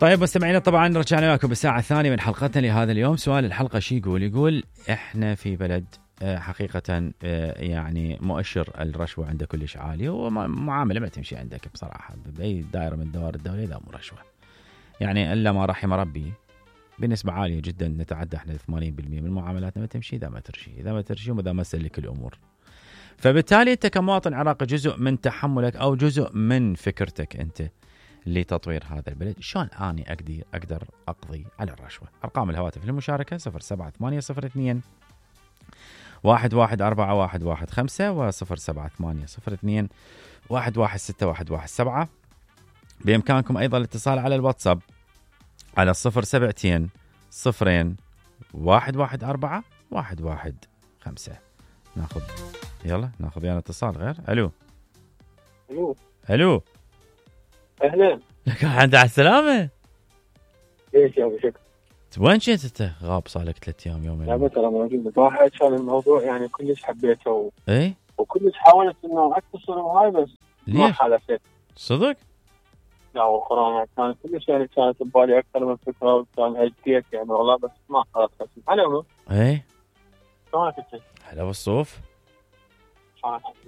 طيب مستمعينا، طبعا رجعنا لكم بالساعة الثانية من حلقتنا لهذا اليوم. سؤال الحلقة شي يقول احنا في بلد حقيقة يعني مؤشر الرشوة عنده كلش عالي، ومعاملة ما تمشي عندك بصراحة بأي دائرة من دوائر الدولة إذا مو رشوة، يعني إلا ما رحم ربي بنسبة عالية جدا نتعدى احنا 80% من معاملاتنا ما تمشي إذا ما ترشي وإذا ما سلك الأمور. فبالتالي أنت كمواطن عراقي جزء من تحملك أو جزء من فكرتك أنت لتطوير هذا البلد. شلون أنا أقدر أقضي على الرشوة؟ أرقام الهواتف للمشاركة 07802 114115 و07802 116117. بإمكانكم أيضا الاتصال على الواتساب على 072 0 114 115. ناخذ اتصال غير. الو اهلا لك عند على السلامة. ليش يا ابو شكر؟ وين كنت انت غاب صالك 3 ايام يومين؟ لا ترى موجود واحد كان الموضوع يعني كلش حبيته ايه وكلش حاولت انه اتصل وهاي بس ما حلفت صدق. لا والقرآن كان كلش يعني كانت ببالي اكثر من فكره وكان هديت يعني والله بس ما حلفت. على العموم ايه شلونك انت؟ هلا بالصوف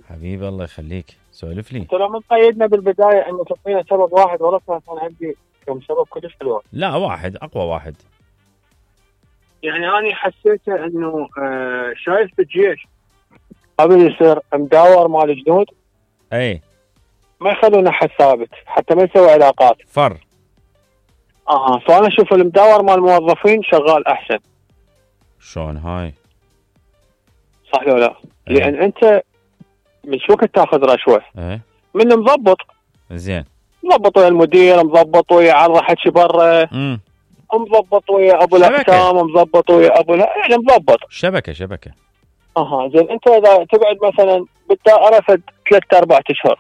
حبيبي الله يخليك. سولف لي. ترى من قيدنا بالبدايه انه تعطينا سبب واحد والله كان عندي كم سبب كلش حلوه. لا واحد اقوى واحد. يعني انا حسيت انه شايف بالجيش قبل يصير مداور مال جنود اي ما يخلون احد ثابت حتى ما يسوي علاقات فر. فانا اشوف المداور مال الموظفين شغال احسن. شلون هاي؟ صح لو لا؟ لان انت من شو وقت تاخذ رشوه من مضبط زين، مضبط ويا المدير، مضبط ويا عرض حكي برا، مضبط ويا ابو الاقسام، مضبط ويا ابو يعني مضبط شبكه. زين انت اذا تقعد مثلا بالدائره 3-4 اشهر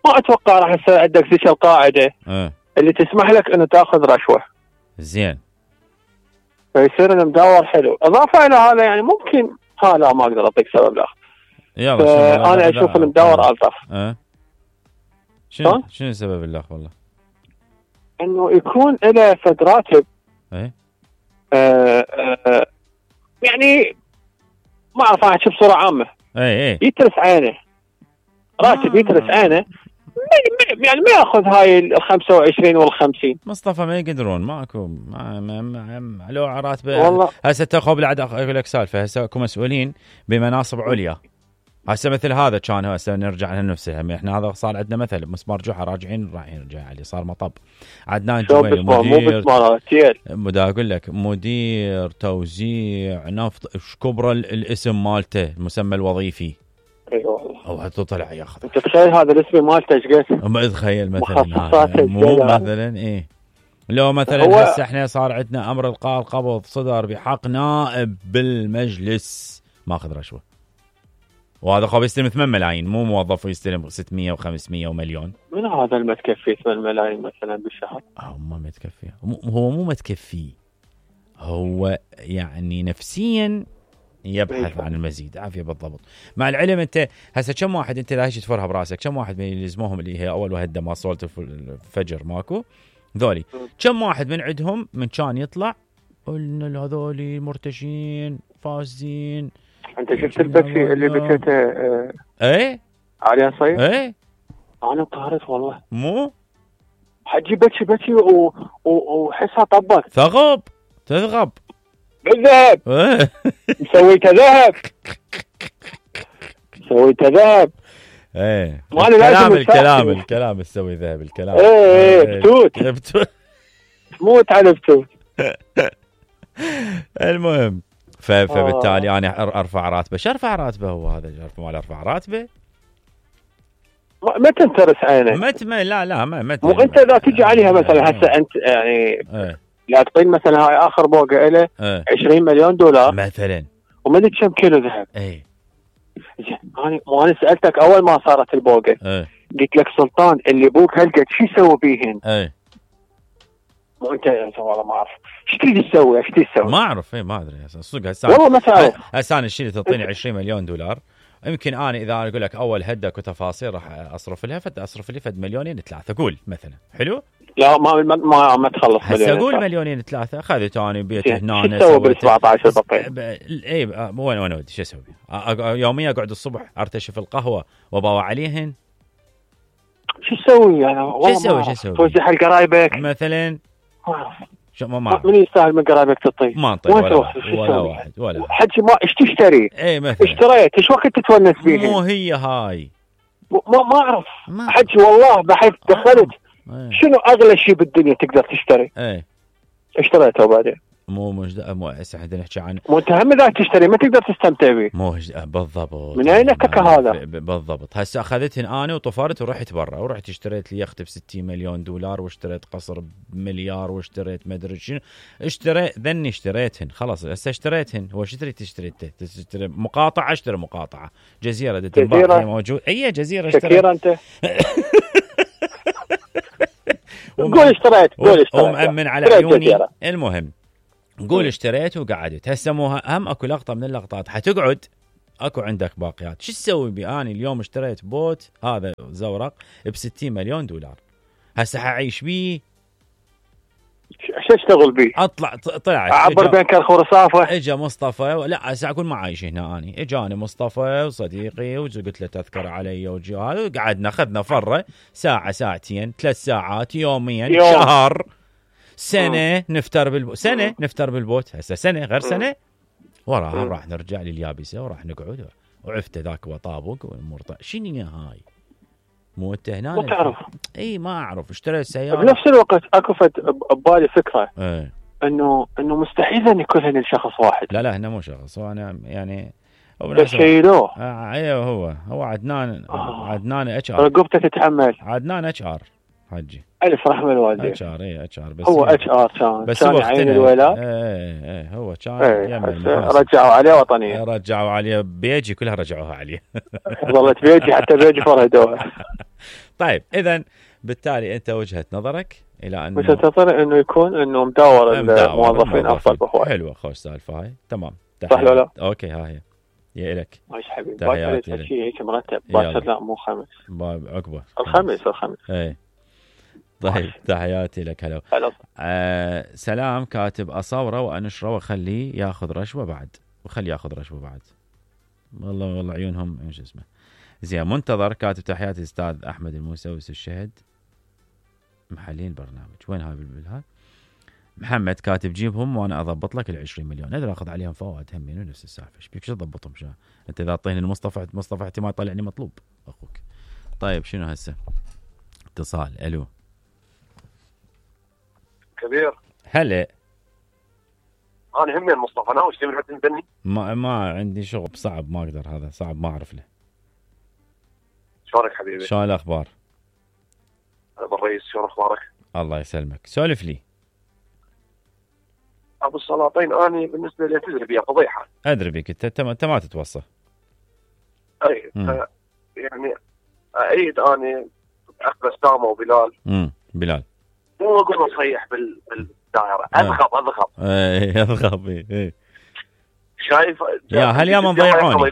ما اتوقع راح يصير عندك ذيك القاعده اللي تسمح لك انه تاخذ رشوه. زين فيصير المداور حلو. اضافه الى هذا يعني ممكن لا ما اقدر اعطيك سبب لا. انا اشوف المداور الطف. شنو سبب الاخ؟ والله انه يكون له فد راتب يعني ما اعرف احكي بصوره عامه يترس عينه راتب يترس عينه يعني ما ياخذ هاي ال 25 وال 50. مصطفى ما يقدرون ماكو لو راتبه هسه تاخذ بالعاده. اقول لك سالفه هسه اكو مسؤولين بمناصب عليا هسه مثل هذا كان هسه نرجع لنفسه. احنا هذا صار عندنا مثل مسمار جحا راجعين رايحين عليه صار مطب. عدنان جميل مدير اقول لك مدير توزيع نفط كبرى الاسم مالته المسمى الوظيفي. اي والله او تطلع ياخذ. انت تخيل هذا الاسم مالته ايش قد؟ ما اتخيل مثلا مو مثلا لو مثلا هسه احنا صار عندنا امر القاء القبض صدر بحق نائب بالمجلس ماخذ رشوه، وهذا خاب يستلم 8 ملايين مو موظف يستلم 600 و500 ومليون. من هذا المتكفي 8 ملايين مثلا بالشهر؟ ما متكفي. هو مو متكفي، هو يعني نفسيا يبحث عن المزيد. عافيه بالضبط. مع العلم انت هسه كم واحد انت لا تفرها براسك كم واحد من يلزموهم اللي هي اول وهده ما صولت الفجر ماكو ذولي كم واحد من عندهم من كان يطلع قلنا هذولي مرتشين فاسدين. انت شفت البكي اللي بكيته ايه علي صيف؟ ايه انا قهرت والله. مو حجي بكي وحسها طبت تذغب بالذهب. سويته ذهب ايه الكلام تسوي ذهب الكلام. بتوت موت على بتوت. المهم فبالتالي انا ارفع راتبه. شو ارفع راتبه؟ هو هذا ارفع راتبه ما تنترس عينه لا مو انت اذا تجي عليها مثلا هسه انت يعني لا تقيل مثلا هاي اخر بوقه له 20 مليون دولار مثلا ومدري كم كيلو ذهب. انا سالتك اول ما صارت البوقه قلت لك سلطان اللي ابوك هلقت شو يسوي بيهن؟ مو انت والله ما اعرف ايش تريد تسوي ما اعرف. ما ادري صدق والله ما تعرف. هسه الشيء اللي تعطيني 20 مليون دولار يمكن انا اذا اقول لك اول هدك وتفاصيل راح اصرف لها اصرف لي فد 2-3 مليون قول مثلا حلو لا ما تخلص هسه اقول مليونين ثلاثه اخذت انا بيت هنا شو تسوي بال 17 بقين؟ اي وين ودي شو اسوي؟ يوميا اقعد الصبح ارتشف القهوه واباوع عليهن. شو تسوي انا؟ شو اسوي؟ توزع حق قرايبك مثلا؟ ما من يستاهل من قرايبك تعطيه؟ ما انطي ولا واحد حجي ما ايش تشتري؟ اي مثلا اشتريت ايش وقت تتونس فيها؟ مو هي هاي ما اعرف حجي والله بحث دخلت شنو اغلى شيء بالدنيا تقدر تشتري؟ اشتريته وبعدين مو هسه احنا نحكي عن مو انت هم اذا تشتري ما تقدر تستمتع به. مو بالضبط. من اين لك هذا؟ بالضبط. هسه اخذتهن انا وطفرت ورحت برا ورحت اشتريت لي يخت ب$60 مليون واشتريت قصر بمليار واشتريت ما ادري شنو اشتريتهن خلاص. هسه اشتريتهن. هو تشتري مقاطعه. اشتري مقاطعه جزيره تنباع موجود. اي جزيره اشتريت انت قول اشتريت ومأمن على عيوني. المهم قول اشتريت وقعدت. هسه مو هم اكو لقطه من اللقطات حتقعد اكو عندك باقيات. شو تسوي بي؟ اني اليوم اشتريت بوت هذا زورق ب$60 مليون. هسه حعيش بيه. شو اشتغل بيه؟ طلعت اعبر بين كرخ ورصافه. اجا مصطفى. لا هسه اكون ما عايش هنا. اني اجاني مصطفى وصديقي وقلت له تذكر علي وجي هذا وقعدنا اخذنا فره ساعه ساعتين 3 ساعات يوميا شهر سنه نفتر بالبوت. هسه سنه غير سنه وراها راح نرجع لليابسه وراح نقعد وعفت ذاك وطابق والامور. شنو هاي؟ مو انت هنا ما تعرف؟ اي ما اعرف. اشتريت سياره بنفس الوقت اكو ببالي فكره انه مستحيل ان يكون هنا شخص واحد. لا هنا مو شخص. وانا يعني شيلوه. ايوه هو عدنان اتش ار. رقبته تتحمل. عدنان اتش ار حجي. الف رحمه الوالدين. اتش ار بس هو اتش ار كان عين الولاء. هو كان رجعوا عليه وطنيه. رجعوا عليه بيجي كلها رجعوها عليه. ظلت بيجي حتى بيجي فرهدوها. طيب اذا بالتالي انت وجهه نظرك الى انه وجهه نظري انه يكون انه مداور الموظفين افضل بخوي. حلوه خوش سالفه هاي. تمام صح ولا لا؟ اوكي هاي يا الك. ماشي حبيبي. باكر شيء هيك مرتب. باكر لا مو خمس. عقبه الخميس. اي طيب تحياتي لك. هلا. سلام كاتب اصوره وانشره واخليه ياخذ رشوه بعد. والله عيونهم ايش اسمه. زين منتظر كاتب تحياتي استاذ احمد الموسوي الشهد محلين البرنامج. وين هاي بالهذا؟ محمد كاتب جيبهم وانا اضبط لك ال20 مليون. ادري اخذ عليهم فوائد همين ونفس السالفه. ايش بيك تضبطهم؟ انت اذا اعطيني المصطفى احتمال يطلعني مطلوب اخوك. طيب شنو هسه؟ اتصال. الو كبير. هلا. انا همين مصطفى. انا وش تبي تنتني؟ ما عندي شغل صعب ما اقدر. هذا صعب ما اعرف له. شلونك حبيبي؟ شلون الاخبار؟ ابو الرئيس شلون اخبارك؟ الله يسلمك. سولف لي. ابو السلاطين اني بالنسبه لي تدري بيها فضيحه. ادري بك انت ما تتوصى. اي يعني اعيد اني اخ بسامه وبلال. بلال مو اقول صيح بالدائره. اضغب. شايف يا هل يا من ضيعوني.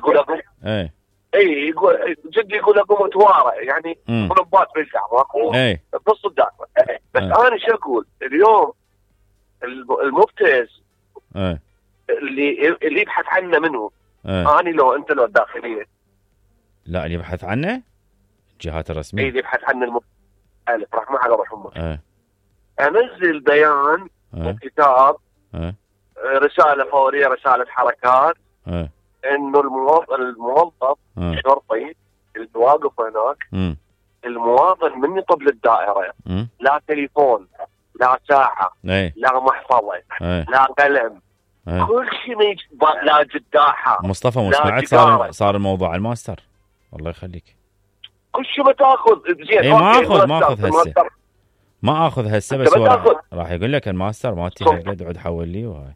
يقول جدي يقول اقوم اتوارى يعني طلبات بالشعب ماكو بنص الدائره. بس انا شو اقول اليوم المبتز اللي يبحث عنه منه. اني لو انت لو الداخليه لا اللي يبحث عنه الجهات الرسميه. اللي يبحث عنه الف رحمه على روح انزل بيان وكتاب رساله فوريه رساله حركات انه الموظف الشرطي اللي واقف هناك المواطن من يطب للدائره لا تليفون لا ساعه لا محفظه لا قلم كل شيء لا جداحه. مصطفى مو سمعت صار الموضوع الماستر. الله يخليك. كل شيء بتاخذ زين. ما اخذ هسه بس راح يقول لك الماستر مالتي هالقد عود حول لي وهاي.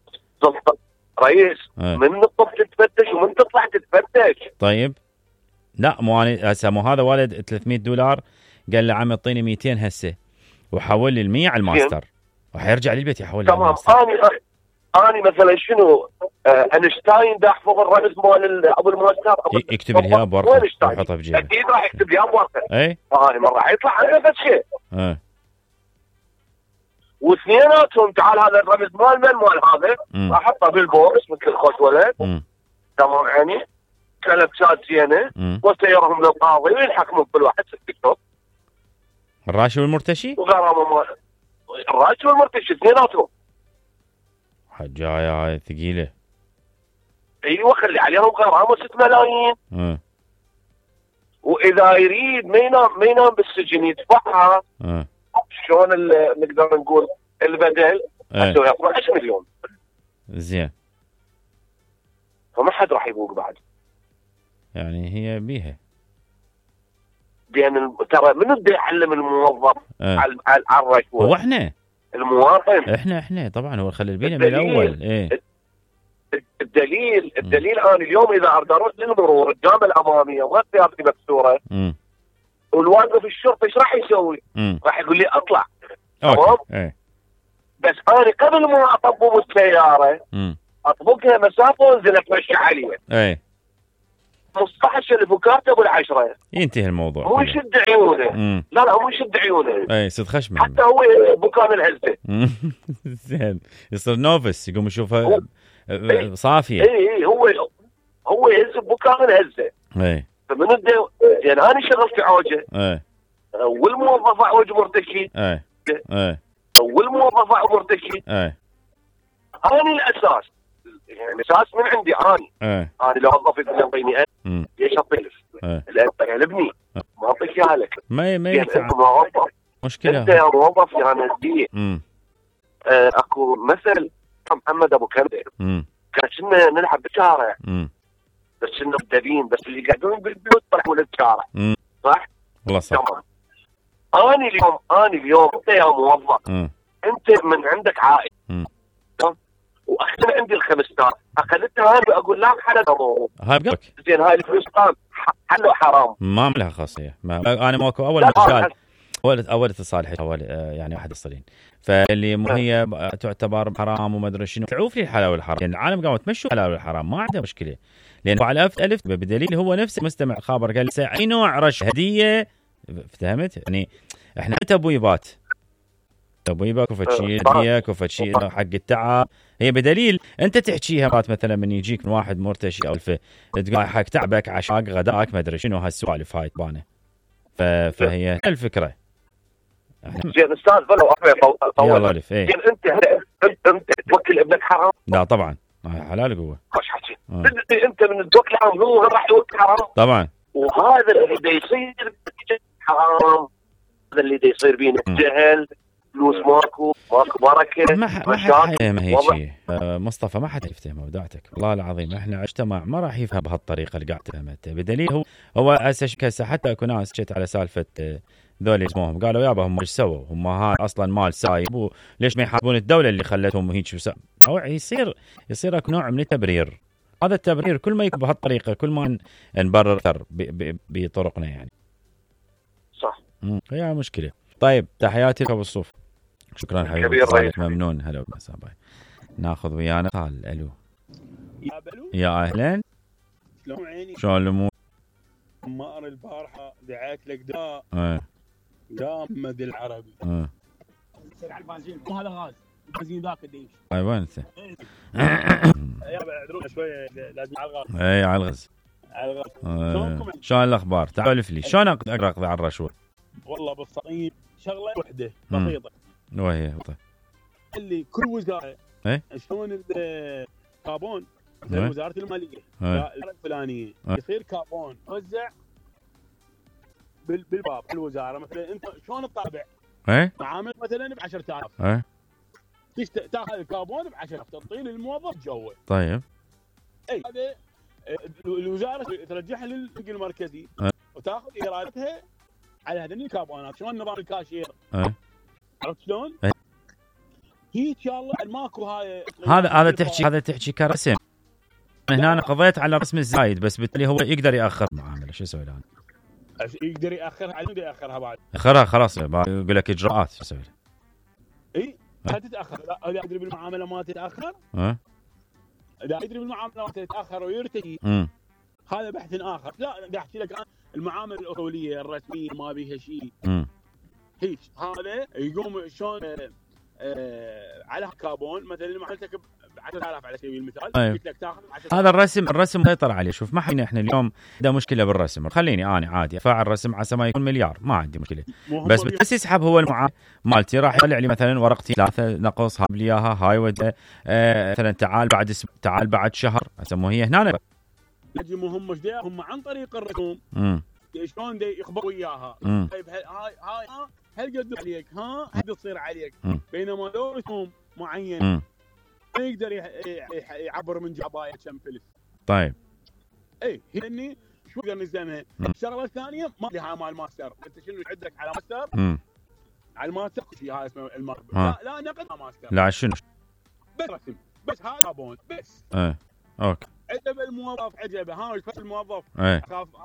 رئيس من الطب تتفتش ومن تطلع تتفتش. طيب لا مو انا هسه مو هذا والد $300 قال له عم اعطيني 200 هسه وحول لي ال100 على الماستر وحيرجع لي البيت يحول لي تمام. اني مثلا شنو اينشتاين دا احفظ الرمز مال ابو الماستر يكتب لي اياه بورقه يحطها في جيبه. اكيد راح يكتب لي اياه بورقه. اي اني ما راح يطلع عنه نفس شيء. واثنيناتهم تعال هذا الرمز مال هذا احطه بالبورس مثل خوش ولد تمام يعني كلبسات زينه وسيرهم للقاضي ويحكمون كل واحد 6 اشهر. الراشي والمرتشي؟ وغرامه مال الراشي والمرتشي اثنيناتهم. حجايه هاي ثقيله. ايوه خلي عليهم غرامه 6 ملايين. واذا يريد ما ينام بالسجن يدفعها. شلون نقدر نقول البدل اسوي 12 مليون. زين. فما حد راح يبوق بعد. يعني هي بيها. لان ترى من بده يعلم الموظف على الرشوه؟ هو احنا المواطن. احنا طبعا هو خلي البينا من الاول. ايه الدليل انا اليوم اذا اريد اروح للمرور قدام الاماميه وما سيارتي مكسوره والواقف الشرطه ايش راح يسوي؟ راح يقول لي اطلع. تمام؟ بس انا قبل ما اطبق السياره اطبقها مسافه وانزل اتمشى عليها. 15,000 وكارته بالعشره ينتهي الموضوع. مو يشد عيونه. لا مو يشد عيونه. صد خشمه. حتى هو بكان العزه. زين يصير نوفس يقوم يشوفها صافيه. اي هو يهز بكان العزه. فمن يعني انا شغلت عوجه. والموظف عوج مرتكي. والموظف عوج مرتكي. انا الاساس يعني اساس من عندي انا لو وظف يعطيني ليش اطلف؟ الابني ما اعطيك اياها لك. ما مشكله انت يا موظف يا نزيه. اكو مثل محمد ابو كلب كنا نلعب بالشارع بس انه مدبين بس اللي قاعدين بالبيوت طلعوا للشارع. صح؟ والله صح. تمام. انا اليوم انت يا موظف انت من عندك عائد واخذنا عندي ال5 اخذتها انا اقول لا حلال هاي بقولك زين هاي الفلوس حلو حرام ما لها خاصيه. انا ماكو اول ما اول اتصال يعني واحد يصلين فاللي هي تعتبر حرام وما ادري شنو تعوف لي الحلال والحرام. يعني العالم قاموا تمشوا الحلال والحرام ما عنده مشكله لان على الف بدليل هو نفسه مستمع خابر قال لي اي نوع رش هديه. فهمت يعني احنا تبويبات كفت شيء هديه كفت شيء حق التعب. هي بدليل انت تحكيها مثلا من يجيك من واحد مرتشي او تقول حق تعبك عشاق غداك ما ادري شنو هالسوالف هاي تبانه. فهي الفكره. زين استاذ فلو طول الف. زين انت توكل ابنك حرام؟ لا طبعا حلال قوه. خوش حكي. انت من توكل حرام هو راح يوكل حرام طبعا. وهذا اللي يصير حرام هذا اللي يصير بينا جهل فلوس ماكو بركه. ما هي شيء مصطفى ما حد يفتهم وداعتك والله العظيم. احنا مجتمع ما راح يفهم بهالطريقه اللي قاعد تفهمها. بدليل هو هسه حتى اكو ناس جت على سالفه ذول اسمهم قالوا يابا هم ايش سووا؟ هم هاي اصلا مال سايب وليش ما يحاربون الدوله اللي خلتهم هيك او يصير اكو نوع من التبرير. هذا التبرير كل ما يكون بهالطريقه كل ما نبرر اكثر بطرقنا يعني. صح. هي مشكله. طيب تحياتي ابو الصوف. شكرا حبيبي صالح ممنون. هلا وسهلا. ناخذ ويانا خال. الو يا بلو يا اهلا. شلون عيني؟ شلون الامور؟ مار البارحه دعيت لك داء محمد العربي. يصير على البنزين مو هذا غاز البنزين ذاك اللي يمشي. اي وين انت؟ يابا اعذرونا شويه لازم على الغاز. اي على الغاز. شلون الاخبار؟ تعال لي شلون اقدر اقضي على الرشوه؟ والله بالصعيد شغله وحده بسيطه وهي اللي كل وزاره شلون الكابون مثل وزاره الماليه الفلانيه يصير كابون توزع بالباب الوزاره. مثلا انت شلون تطابع معامل مثلا ب 10,000 تاخذ الكابون ب 10,000 تعطيه للموظف جوه. طيب هذا الوزاره ترجعها للبنك المركزي وتاخذ ايراداتها على هذين الكابونات. شلون نظام الكاشير عرفت شلون؟ هي ان شاء الله ماكو هذا تحكي كرسم. هنا أنا قضيت على رسم الزايد بس بالتالي هو يقدر ياخر معامله. شو اسوي الان؟ يقدر ياخرها على يقدر ياخرها بعد اخرها خلاص يقول لك اجراءات. شو اسوي؟ اي لا تتاخر. لا اذا يدري بالمعامله ما تتاخر اذا يدري بالمعامله ما تتاخر ويرتكي هذا بحث اخر. لا قاعد احكي لك عن المعامل الاصوليه الرسميه ما بيها شيء. هيك هذا يقوم شلون على كابون مثلا معاملتك ب 10000 على سبيل المثال، قلت لك تاخذ هذا الرسم مسيطر عليه. شوف ما حنا احنا اليوم عندنا مشكله بالرسم، خليني انا عادي افعل الرسم على ما يكون مليار، ما عندي مشكله، بس يسحب هو المعامل مالتي راح يطلع لي مثلا ورقتي 3 نقص، هاب لي اياها هاي وده مثلا تعال بعد شهر، مو هي هنا نجي هم هم عن طريق الرسوم شلون يخبروا وياها. طيب هاي هل قد عليك هل تصير عليك، بينما لو رسوم معين ما يقدر يعبر من جابايه كم فلس. طيب اي هني شو نقدر نلزمها. الشغله الثانيه ما لها مال ماستر، انت شنو عندك على ماستر؟ على الماستر شيء هاي اسمه الماستر، لا نقد ماستر، لا شنو بس رسم، بس هذا بون بس. اوكي عجب الموظف عجبه، ها الموظف اخاف